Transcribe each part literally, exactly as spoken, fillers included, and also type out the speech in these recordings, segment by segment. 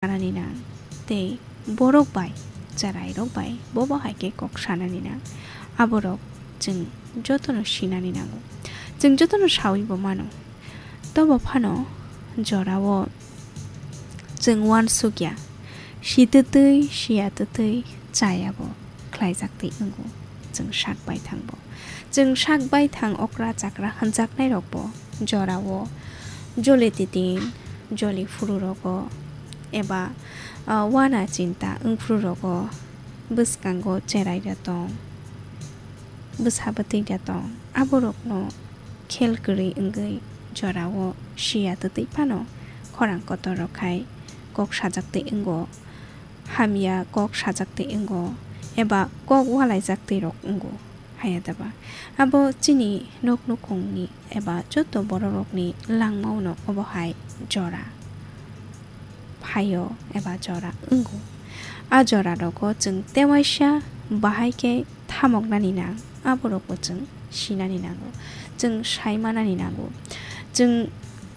sanani nang, tei borok bai, cherairok bai bobo hai khe kok sanani nang, aborok chwng jotono sinani nango. Chwng jotono sawi bo mano. Tobo phano jorao chwng uansukya, sitwtwi, siyatwtwi chayabo khlaijak twi wngo chwng sak baithang bo. Chwng sak baithang okra chakra hwnjaknairokbo jorao joli titing, joli phuru rogo eba, ah, uana chinta wngphuru rogo bwskango cherai da tong, bwsa bwtwi da tong, aborokno khel kwrwi wngwi jorao siyatwtwi phano khorang kotor rok hai kok sajak twi wngo, hamya kok sajak twi wngo, eba kok ualaijak twi rok wngo. Haya daba. Abo chini nok nukhungni eba joto bororokni langmao no obo hai jora phaio eba jora wngo. A jora rogo chwng tewaisa bahai khe thamoknani nang, aborokbo chwng sinani nango, chwng saimanani nango. Chwng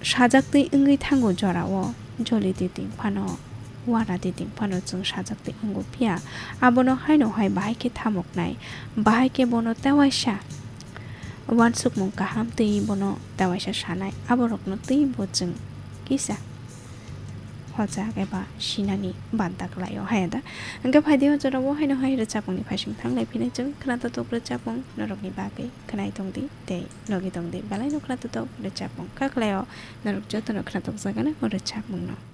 sajak twi wngwi thango jorao, joli twi twi phano, uana twi twi phano chwng sajak twi wngo, phiya abono haino hai bahai khe thamoknai, bahai khe bono tewaisa uansukmung kaham twi bono tewaisa sanai, aborokno twibo chwng kisa hojak eba sinani banta kwlaio, haya da. Hwnkhe phaidi o jorao haino hai rwchapmungni phaising thanglai phini chwng khwnatotok rwchapmung norokni bagwi khwnai tongdi tei logi tongdi, belaino khwnatotok rwchapmung kha kwlaio, norok jotono khwnatokjakgano o rwchapmungno.